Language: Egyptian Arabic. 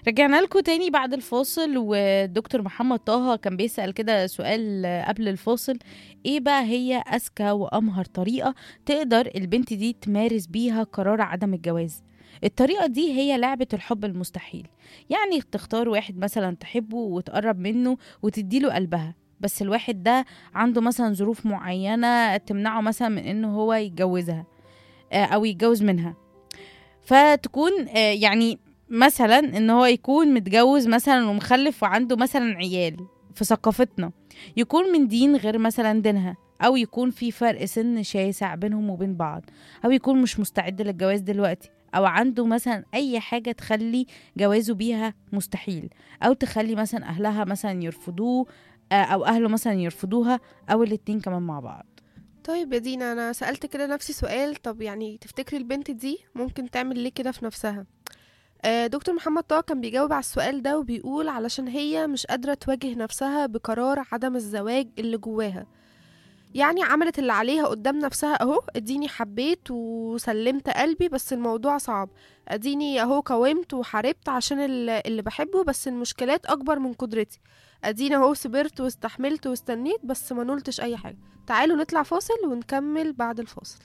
رجعنا لكم تاني بعد الفاصل، والدكتور محمد طه كان بيسأل كده سؤال قبل الفاصل: ايه بقى هي اذكى وامهر طريقة تقدر البنت دي تمارس بيها قرار عدم الجواز؟ الطريقة دي هي لعبة الحب المستحيل. يعني تختار واحد مثلا تحبه وتقرب منه وتديله قلبها، بس الواحد ده عنده مثلا ظروف معينة تمنعه مثلا من انه هو يتجوزها، او يتجوز منها. فتكون يعني مثلا ان هو يكون متجوز مثلا ومخلف وعنده مثلا عيال في ثقافتنا، يكون من دين غير مثلا دينها، او يكون في فرق سن شاسع بينهم وبين بعض، او يكون مش مستعد للجواز دلوقتي، او عنده مثلا اي حاجة تخلي جوازه بيها مستحيل، او تخلي مثلا اهلها مثلا يرفضوه، او اهله مثلا يرفضوها، او الاتنين كمان مع بعض. طيب يا دينا، انا سألت كده نفسي سؤال. طب يعني تفتكري البنت دي ممكن تعمل ليه كده في نفسها؟ دكتور محمد طه كان بيجاوب على السؤال ده وبيقول علشان هي مش قادرة تواجه نفسها بقرار عدم الزواج اللي جواها. يعني عملت اللي عليها قدام نفسها اهو، اديني حبيت وسلمت قلبي بس الموضوع صعب، اديني اهو قاومت وحاربت عشان اللي بحبه بس المشكلات اكبر من قدرتي، اديني اهو صبرت واستحملت واستنيت بس ما نلتش اي حاجة. تعالوا نطلع فاصل ونكمل بعد الفاصل.